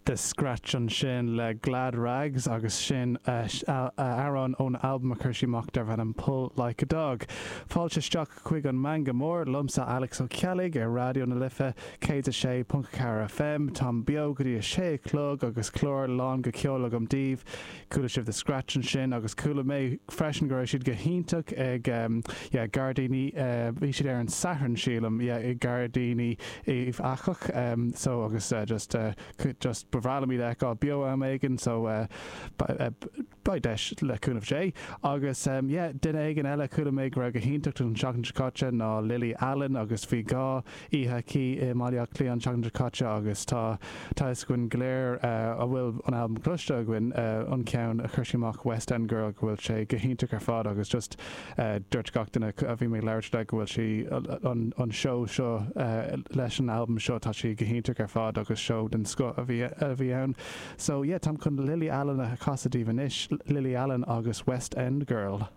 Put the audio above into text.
The Scratch ansin le Glad Rags agus sin amhrán ón albam a chuir sí amach darb ainm Pull Like a Dog. Fáilte isteach chuig an Meangadh Mór, liomsa Alex Ó Ceallaigh ar Raidió na Life 106.4 FM. Táim beo go dtí a sé a chlog agus clár lán de cheol agam daoibh. Chuala sibh The Scratch ansin agus chuala mé freisin go raibh siad go hiontach ag yeah Gairdíní bhí siad ar an Satharn sílim yeah i Gairdíní Uíbh Eachach so agus just just ba bhreá liom iad a fheiceáil beo am éigin so beidh deis le cúnamh Dé. Agus yeah duine éigin eile a chuala mé go raibh go hiontach an tseachtain seo caite ná Lily Allen agus bhí 2 oíche aici i mBaile Átha Cliath an tseachtain seo caite agus tá tá fhios againn go léir a bhfuil an albam cloiste againn an ceann a chuir sí amach West End Girl go bhfuil sé go hiontach ar fad agus just dúirt gach duine a bhí mé ag labhairt le go bhfuil sí an an seó seo leis an albam seo tá sí go hiontach ar fad agus seó den scoth a bhí a bhí ann. So yeah táim chun Lily Allen a chasadh daoibh anois, Lily Allen agus West End Girl.